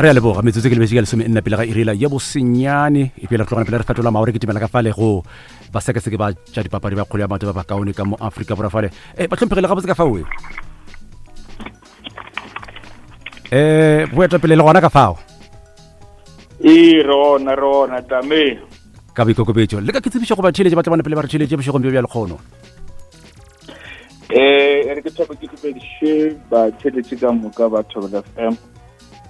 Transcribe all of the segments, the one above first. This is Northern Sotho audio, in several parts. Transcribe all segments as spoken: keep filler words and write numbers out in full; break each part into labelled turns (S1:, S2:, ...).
S1: Re a leboga. Metsotso ke lebetse ka lesome nna pele ga irela ya bosenyane, e pele re tlogana pele re fetola maore ke timela ka fale go basekaseke ba tša dipapadi ba kgolo ya maoto ba bakaone ka mo Afrika Borwa fale. E ba hlomphegile gabotse ka fao e eh boetapele le gona ka fao.
S2: Ee, re gona, re gona tame.
S1: Ka boikokobetšo le ka ke tsebišo go batheeletše ba tla bona pele ba re theeletše bošegong bjo bja lekgono.
S2: Eh, re ke thope ke dumediše batheeletše ka moka ba Thobela F M.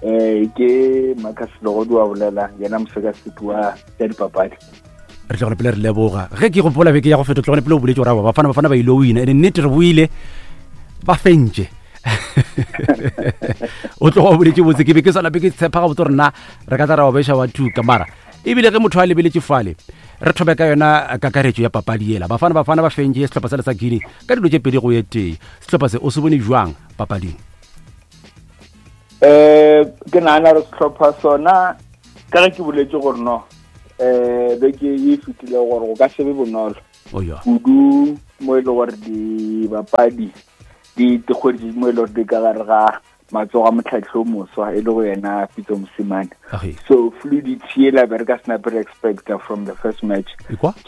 S2: Eh, ke Marcus Legodi wa bolela, yena mosekaseki wa tša dipapadi.
S1: Re tlogele pele re leboga. Ge ke gopola beke ya go feta, tlogele pele o boletse gore aowa, Bafana Bafana ba ile wina, ene nnete re boile ba fentše. O tloga o boletse botse, ke be ke sa lape ke tshepa gabotse gore nna re ka tla ra ba beša wa thuka, mara ebile ge motho a lebeletše fale re thobe ka yona kakaretšo ya papadi yela. Bafana Bafana ba fentše sehlopha sa le sa Guinea ka dilo tše pedi go ye tee. Sehlopha se o se bone jwang papading?
S2: Eh, ke nagana gore sehlopha sona ka ge ke boletse gore no eh beke e fetile gore go ka se be bonolo kudu mo e le gore dibapadi di dikgwedi mo e le gore di ka gare ga matsogo a motlhatlhi o moswa e le go yena Pitso Mosimane. So fluidity ela be re ka se nape re expecta from the first match.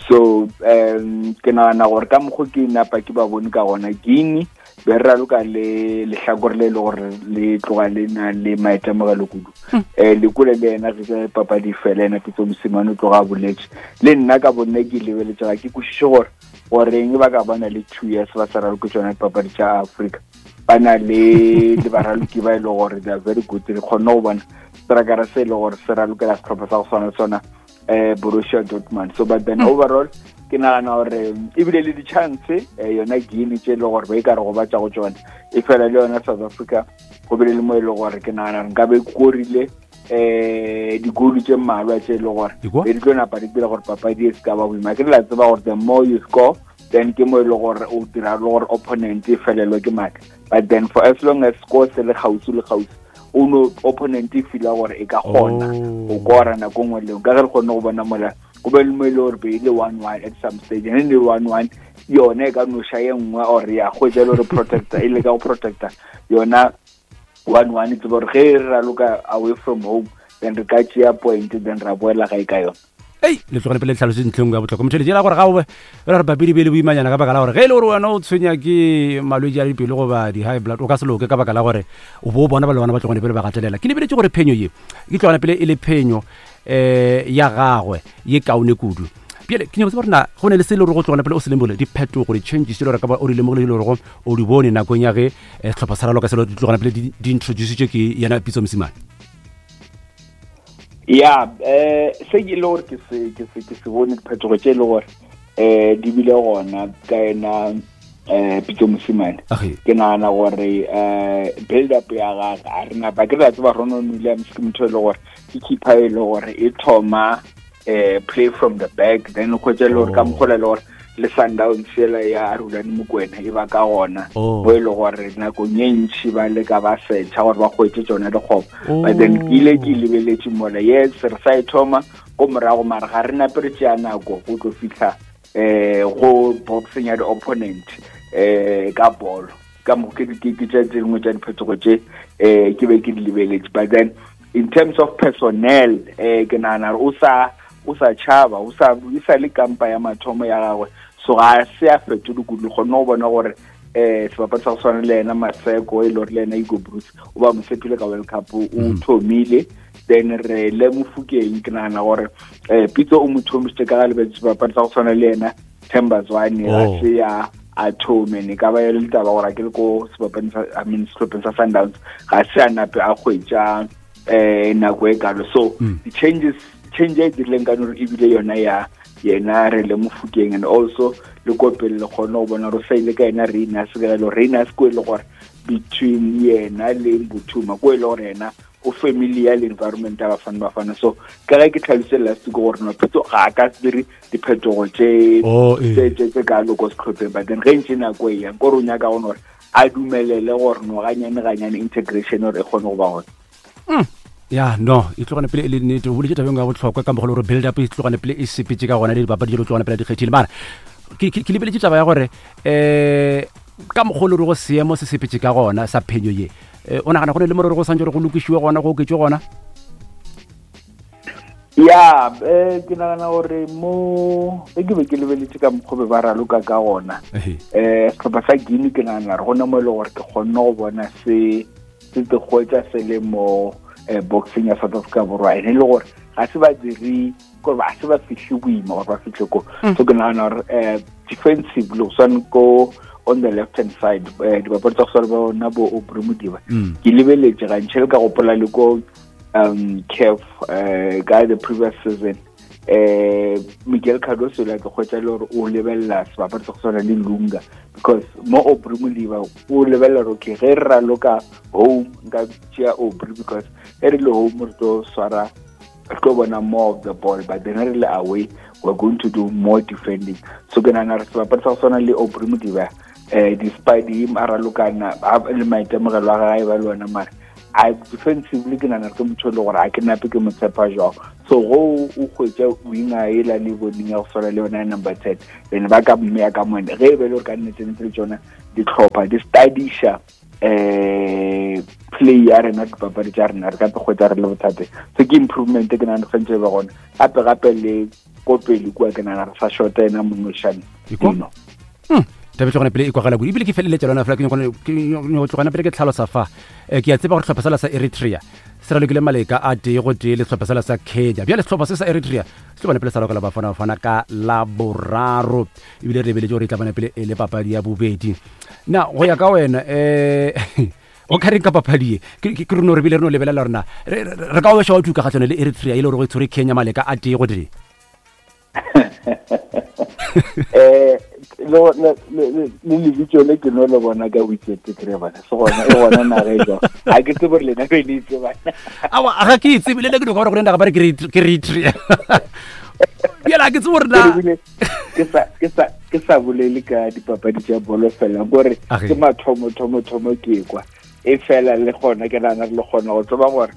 S2: So um ke nagana gore ka mokgo ke napa ke ba bone ka gona Guinea be re raloka le lehlakore le e le gore le tloga le na le maitemogelo kudu. Eh lekole le yena ge papadi fela yena Pitso Mosimane o tloga a boletse. Le nna ka bonne ke lebeletse ga ke kwešiše gore goreng ba ka bana le two years ba sa raloke tsona dipapadi tša Afrika. Ba na le le baraloki ba e le gore they are very good. Re kgonne go bona strakara se e le gore se ralokela sehlopha sa go swana le sona eh Borussia Dortmund. So but then overall ke nagana gore ebile le di-chance yona Guinea tše e le gore ba e ka re gobatša go tsona, e fela le yona South Africa go bile le mo e le gore ke nagana gore nkabe e korile eh digolo tše mmalwa tše e le gore be di tlo napa di dira gore papadi e se ka ba boima. Ke re la tseba gore the more you score then ke mo e le gore o dira le gore opponent e felelwe ke matla. But then for as long as score se le kgauswi le kgauswi, o no opponent e feela gore e ka kgona go kora nako nngwe le nngwe. Ka ge re kgonne go bona mola go be le mo e le gore be e le one one at some stage, and then le one one yona e ka no ša ye nngwe or ya hwetša e le gore protector e leka go protector yona one one, e tseba gore ge re raloka away from home then re ka tšea point then ra boela gae ka yona.
S1: Ei, le tlogele pele tlhaloso ntlheng ya bohlokwa. Motho le gore ga o be re re papadi be le boimanyana ka baka la gore ge e le gore wena o tshwenya ke malwetši a dipelo goba di-high blood o ka se loke ka baka la gore o bo bona ba le bana ba tlogane pele ba gatelela. Ke lebeletše gore phenyo ye ke tlogane pele e le phenyo eh ya gagwe ye kaone kudu. Bjale ke nyaka go tseba gore na go ne le se le gore go tlogane pele o se lemogile diphetogo di-changes tše le gore ka ba o di lemogile le gore o di bone nakong ya ge sehlopha sa raloka selo di tlogane pele di introducitšwe ke yena Pitso Mosimane.
S2: Ya, eh se ke le gore ke se ke se ke se bone diphetogo tše le gore eh di bile gona ka yena eh Pitso Mosimane. Ke nagana gore eh build up ya gagwe a re napa ke re tseba Ronald Williams ke motho e le gore ke keeper e le gore e thoma eh play from the back then o hwetša le gore ka mokgola le gore le Sundowns yela ya Rulani Mokwena e ba ka gona bo e le gore nakong ye ntši ba leka ba setšha gore ba hwetše tsona dikgopo. But then ke ile ke lebeletše mola yes re sa e thoma ko morago mara ga re nape re tšea nako go tlo fihla eh go boxing ya di-opponent eh ka bolo ka mo ke ke ke tše dingwe tša diphetogo tše eh ke be ke di lebeletše. But then in terms of personnel eh ke nagana gore o sa o sa tšhaba o sa e sa le kampa ya mathomo ya gagwe, so ga se a fetole kudu. Kgonne go bona gore eh sebapadi sa go swana le yena Maseko e le gore le yena Hugo Broos o ba mo tshepile ka World Cup o thomile. Then re le Mofokeng ke nagana gore eh Pitso o mo thomisitse ka ga lebetse sebapadi sa go swana le yena Themba Zwane ga se ya a thome ne ka ba e le taba gore a ke le ko sebapading sa I mean sehlopheng sa Sundowns ga se a nape a hwetša eh nako e kalo. So the changes change e dirileng ka nore ebile yona ya yena re le Mofokeng and also le ko pele le kgone go bona gore sa ile ka yena Reina Sekelo Reina se ko e le gore between yena le Mbuthuma ko e le gore yena o familiar le environment ya Bafana Bafana. So ka ge ke tlhalositse last week gore no Pitso ga a ka se dire diphetogo tše tše tše kalo ko sehlopheng, but then ge ntše nako e yang kore o nyaka go gore a dumelele gore no ganyane ganyane integration gore e kgone go ba gona.
S1: Ya no e tlogane pele e le nnete o boletse tabeng ya bohlokwa ka mogolo gore build up e tlogane pele e sepetse ka gona le dipapadi tše tlogane pele di kgethile. Mara ke ke lebeletše taba ya gore eh ka mogolo re go seemo se sepetse ka gona sa phenyo ye o nagana go ne le morero go santse gore go lokišiwe gona go oketšwe gona?
S2: Ya, eh ke nagana gore mo ge ke be ke lebeletse ka mokgwa be ba raloka ka gona, eh sehlopha sa Guinea ke nagana gore gona mo e le gore ke kgonne go bona se se te hwetša se le mo eh, boxing ya South Africa Borwa, ene e le gore ga se ba dire gore ba se ba fihle boima gore ba fihle ko. So ke nagana gore eh defensively go swane ko on the left hand side, eh dibapadi tsa go swana ba bona bo Aubrey Modiba, ke lebeletse gantši le ka gopola le ko um C A F uh guy the previous season, eh Miguel Cardoso la ke kgotsa le gore o lebella sebapadi sa go tshwana le Lunga, because mo Aubrey Modiba o lebella gore okay, ge re raloka home nka tšea Aubrey, because ge re le home re tlo swara, re tlo bona more of the ball, but then re le away we're going to do more defending. So ke nagana gore sebapadi sa go tshwana le Aubrey Modiba, eh despite him a ralokana le maitemogelo a gagwe ba le ona, mare a defensively ke nagana ke motho e le gore ga ke nape ke mo tshepa jwang. So go o hwetša winger ela le boneng ya go swana le yona ya number ten, then ba ka mmeya ka mone ge e be le gore ka nnete-nnete le tsona ditlhopha di studiša eh play ya rena, dipapadi tša rena, re ka te hwetša re le bothateng. So ke improvement ke nagana tshwanetse e be gona. Gape gape le ko pele kua ke nagana re sa shorta ena Monošane Dino.
S1: Taba tlogana pele e kwagala kudu, ebile ke feleletša lona fela ke nyako tlogana pele ke tlhalosa fa. Eh, ke a tseba gore sehlopha sela sa Eritrea se ralokile maleka a tee go tee le sehlopha sela sa Kenya. Bjale sehlopha se sa Eritrea se tlo bana pele sa lokela Bafana Bafana ka Laboraro, ebile re lebeletše gore e tla bana pele e le papadi ya bobedi. Na go ya ka wena, um o ka reng ka papadi ye? Ke ke- ke re no re bile re no lebelela rena re re- re ka o beša wa tuka kgatlhanong le Eritrea e le gore go e tshwere Kenya maleka a tee go tee.
S2: eh le le le le lebitso le ke no le bona ka weekend ke re bana se gona e gona naga e jwang, ga ke tsebe gore lena be le itse bana.
S1: Awa, ga ke e tsebe le nna, ke no ka gore go naga ba re ke re- ke Eritrea, bjale ga ke tsebe gore na
S2: Ebile ke sa ke sa ke sa bolele ka dipapadi tša bolo fela, kore
S1: Age.
S2: ke mathomo thomo thomo ke kwa e fela le gona ke nagana re le kgona go tseba gore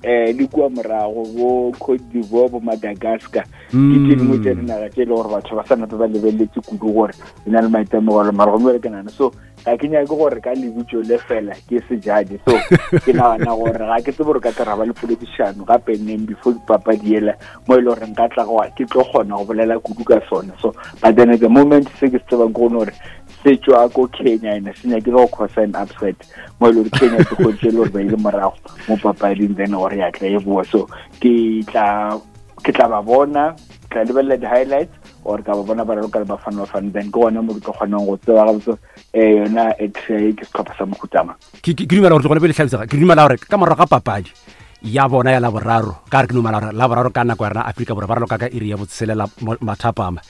S2: eh le kua morago bo Cote d'Ivoire, bo Madagascar, ke tse dingwe tša dinaga tše e le gore batho ba sa nape ba lebeletse kudu gore di na le maitemogelo, mara gomme bjale ke nagana so ga ke nyake gore ka lebitso le fela ke se judge. So ke nagana gore ga ke tsebe gore ka tla ra ba le poledišano gape neng before dipapadi ela mo e le gore nka tla go ke tlo kgona go bolela kudu ka sona. So but then at the moment se ke se tsebang ke gone gore se tšwa ko Kenya ene se nyakile go cause an upset mo e le gore Kenya se kgontse e le gore ba ile morago mo papading, then gore ya tla e boa. So ke tla ke tla ba bona, ke tla lebelela di-highlights or ka ba bona ba raloka le Bafana Bafana, then ke gona mo ke tlo kgonang go tseba gabotse um yona Eritrea ke setlhopha sa mohutama.
S1: Ke ke- ke dumela gore tlogone pele tlhalosega, ke dumela gore ka morago ga papadi ya bona ya Laboraro, ka re ke dumela gore Laboraro ka nako ya rena Afrika Borwa ba raloka ka iri ya botshelela mo- mathapama.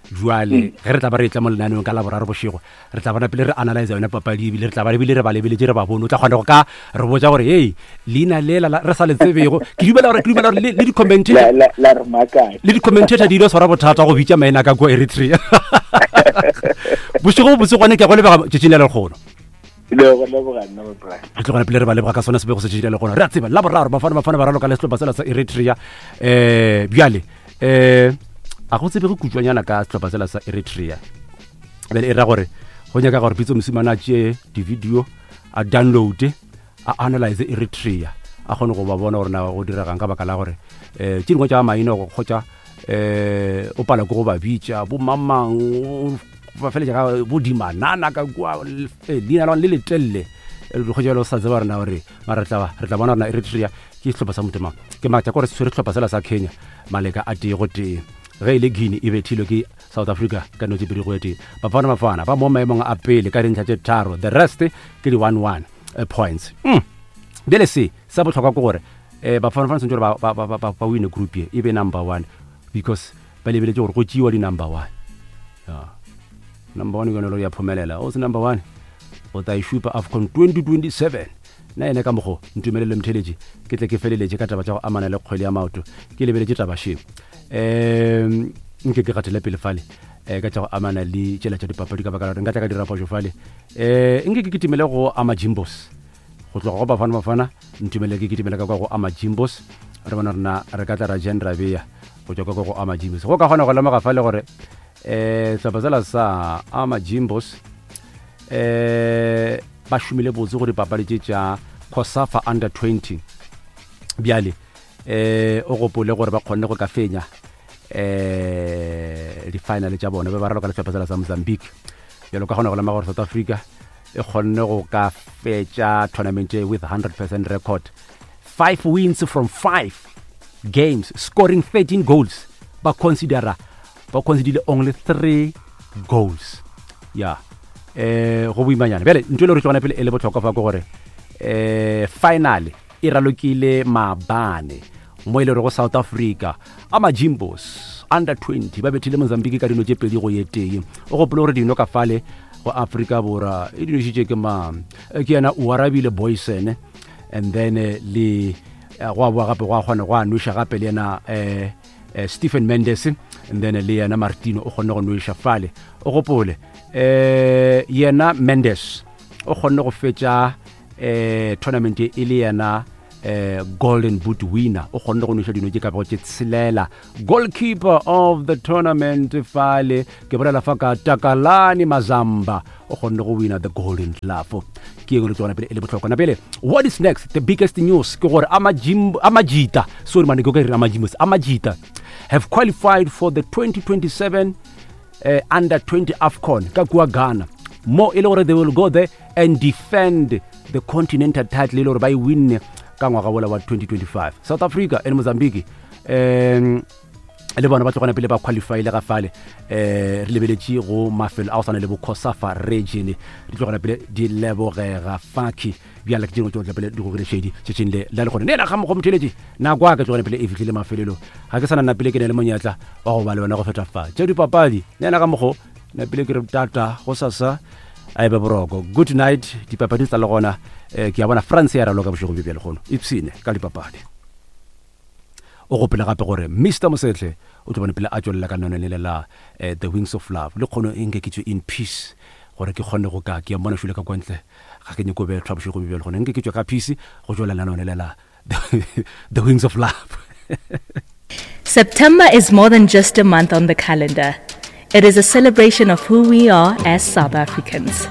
S1: Jwale ge re tla ba re etla mo lenaneong ka Laboraro bošego, re tla bona pele re analyze yone papadi, ebile re tla ba ebile re ba lebeletše re ba bone, o tla kgona go ka re botša gore hei, leina lela la- re sa le tsebego. Ke dumela gore ke dumela gore le le di-commentator
S2: la la la re makatša.
S1: Le di-commentator di ile tshwara bothata go bitša maina ka kua Eritrea. Bošego bo botse gone, ke a go lebega tšatšing la lekgono.
S2: Le go leboga nna bra.
S1: Re tlogana pele re ba leboga ka sona sebego se tšatši la lekgono. Re a tseba Laboraro Bafana Bafana ba raloka le sehlopha sela sa Eritrea. um bjale um a go tsebege kutswanyana ka sehlopha sela sa Eritrea. Bjale e ra gore go nyaka gore Pitso Mosimane a tšee di-video, a downloade, a analyze Eritrea, a kgone go ba bona gore na go diregang, ka baka la gore um tše dingwe tša maina go kgotsa um o pala ke go ba bitša bo mamang, o ba feletša ka bo dimanana ka kua, eh, leina la gona le letelele kgotsa le o sa tseba rena gore mara re tla ba- re tla bona rena Eritrea ke sehlopha sa motho mang. Ke matša kore se tshwere sehlopha sela sa Kenya maleka a tee go tee. Ge e le Guinea e bethilwe ke South Africa ka no tse pedi go e tee. Bafana Bafana ba mo maemong a pele ka dintlha tše tharo, the rest ke di one one eh, points. mm. bjale se sa bohlokwa ke gore um Bafana Bafana tshwanetse gore ba- ba- ba- ba ba wine group ye, e be number one, because ba lebeletse gore go tšeiwa di-number one. Ya. Number one ke yone e le ya phomelela, o se number one o tla e šupa AFCON twenty twenty-seven. Nna ene ka mokgo ntumelele motheletše ke tle ke feleletše ka taba tša go amana le kgwele ya maoto, ke lebeletše taba še um nke ke gatele pele fale um ka tša go amana le tšela tša dipapadi, ka baka la gore nka tla ka dira phošo fale. um nke ke kitimele go Amajimbos, go tloga go Bafana Bafana ntumele ke kitimele ka kwa go Amajimbos, re bona rena re ka tla ra jen ra beya go tswa ka kwa go Amajimbos. Go ka kgona go lemoga fale gore um sehlopha sela sa Amajimbos um ba šomile botse go dipapadi tše tša COSAFA under twenty. Bjale Eh o gopole gore ba kgonne go ka fenya eh di-final tša bona be ba raloka le sehlopha sa Mozambique. Bjalo ka gona go lema gore South Africa e kgonne go ka fetša tournament with one hundred percent record, five wins from five games, scoring thirteen goals. Ba considera ba considerile only three goals. Ya eh go boimanyana. Bjale ntho e le gore tlogana pele e le bohlokwa fa ke gore eh final e ralokile maabane mo e le go South Africa Amajimbos under twenty ba bethile Mozambique ka dino tše pedi go ye tee. O gopole gore dino ka fale go Afrika Borwa e dinošitše ke ma ke yena o arabile Boysen, and then le go a boa gape go a kgona go a nweša gape le yena eh Stephen Mendes, and then le yena Martino o kgonne go nweša fale. O gopole eh yena Mendes o kgonne go fetša eh tournament e le yena eh golden boot winner, o kgonne go nweša dino tše ka go tše tshelela. Goalkeeper of the tournament fale ke bolela fa ka Takalani Mazamba o kgonne go winner the golden glove. Ke engwe le tsona pele e le bohlokwa. Na pele what is next, the biggest news ke gore Amajimbo Amajita sorry man ke re Amajimbos Amajita have qualified for the twenty twenty-seven uh, under twenty AFCON ka kua Ghana, mo e le gore they will go there and defend the continental title e le gore ba e winne ka ngwaga wola wa twenty twenty-five. South Africa and Mozambique um le bona ba tlogana pele ba qualify le ga fale eh re lebeletše go mafelo a go swana le bo Kosafa region di tlogana pele di lebogega faki bjale ke dingwe tšohle pele di go šedi tšetšeng le la le gone nena ga mo go motheletše nako a ka tlogana pele e fihlile mafelelo ga ke sana nna pele ke ne le monyetla wa go ba le wena go feta fa tše dipapadi nena ga mogo nna pele ke re tata go sasa a ebe boroko. Good night. Dipapadi tsa le gona eh ke a bona France ya raloka bošego bjo bjale gono ipsene ka dipapadi. O gopela gape gore Mister Mosetle o tlo bone pele a tšwelela ka none le la The Wings of Love le kgono e nke ke tswe in peace gore ke kgone go ka ke a mmona šule ka kwantle ga ke nyako bethwa bošego bjo bjale gone nke ke tswe ka peace go tšwelela none le la The Wings of Love.
S3: September is more than just a month on the calendar. It is a celebration of who we are as South Africans.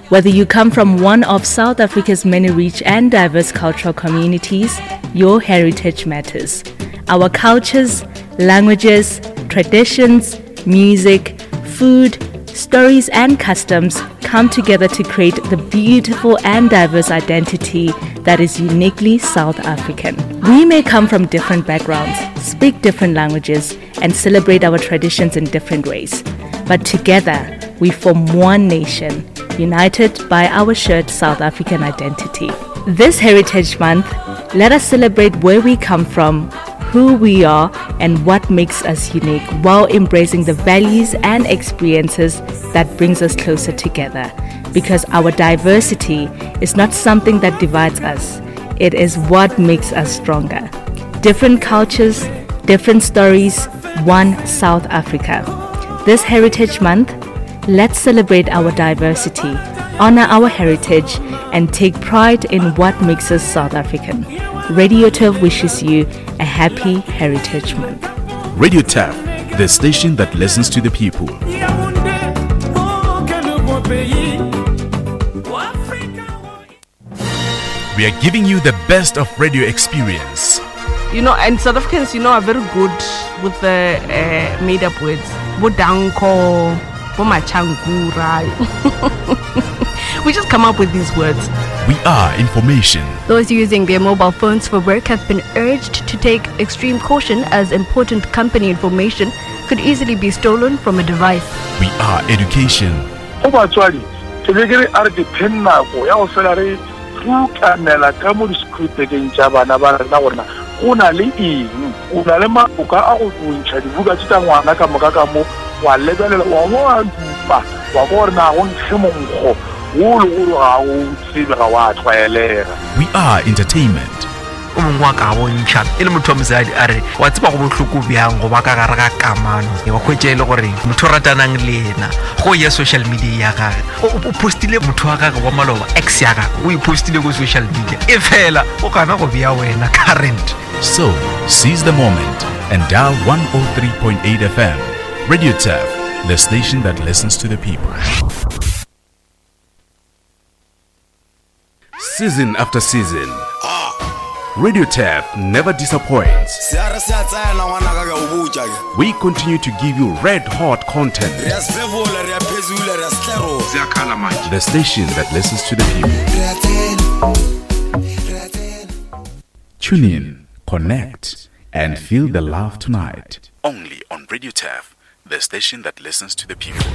S3: Whether you come from one of South Africa's many rich and diverse cultural communities, your heritage matters. Our cultures, languages, traditions, music, food, stories and customs come together to create the beautiful and diverse identity that is uniquely South African. We may come from different backgrounds, speak different languages, and celebrate our traditions in different ways. But together, we form one nation, united by our shared South African identity. This Heritage Month, let us celebrate where we come from, who we are, and what makes us unique, while embracing the values and experiences that brings us closer together. Because our diversity is not something that divides us, it is what makes us stronger. Different cultures, different stories, one South Africa. This Heritage Month, let's celebrate our diversity, honor our heritage, and take pride in what makes us South African. Radio Turf wishes you a happy Heritage Month.
S4: Radio Turf, the station that listens to the people. We are giving you the best of radio experience.
S5: You know, and South Africans, you know, are very good with the uh, made-up words. Bodanko, Bomachangura. We just come up with these words.
S4: We are information.
S6: Those using their mobile phones for work have been urged to take extreme caution as important company information could easily be stolen from a device.
S4: We are education.
S7: Go na le eng o na le maboka a go bontšha dibuka tše tša ngwana ka moka ka mo wa lebelela wa bo a dupa wa go gore na go nkge monkgo wo le gore ga o tsebe ga wa tlwaelega.
S4: We are entertainment.
S8: O mongwe wa ka bontšha e le motho wa mosadi a re wa tseba go bohloko bjang go ba ka gare ga kamano wa hwetša e le gore motho o ratanang le yena go ya social media ya gage o postile motho wa gage wa maloba ex ya gage o e postile ko social media e fela o gana go bea wena current.
S4: So seize the moment and dial one oh three point eight F M. Radio Turf, the station that listens to the people. Season after season, Radio Turf never disappoints.
S9: Se a re se a tsena ngwanaka ke a o botša ke.
S4: We continue to give you red hot content.
S9: Re a sefefola, re a phezula, re a setlerola.
S4: The station that listens to the people.
S9: Re a tsena. Re a tsena.
S4: Tune in, connect, and feel the love tonight. Only on Radio Turf, the station that listens to the people.